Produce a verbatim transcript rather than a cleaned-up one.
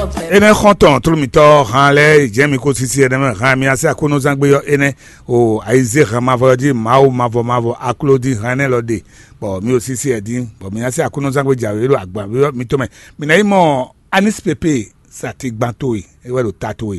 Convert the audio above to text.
Énɛ́ xɔ́ntɔn tlú mǐtɔn han lɛ́ɛ yi jɛ́n mi kó sísí ɛnɛ́ mɛ han mi así Aklúnɔzán gbé ɔ́ énɛ́ o ayizé han mavɔ ɔ́ jí Mawu mavɔ mavɔ akló dín han énɛ́ lɔ ɖe, bɔ mi o sísí ɛ dín, bɔ mi así Aklúnɔzán gbé jǎwe ɖo agban mitɔn mɛ. Mi ná yi mɔ Anísipépé satigban towe, é wɛ ɖo ta towe.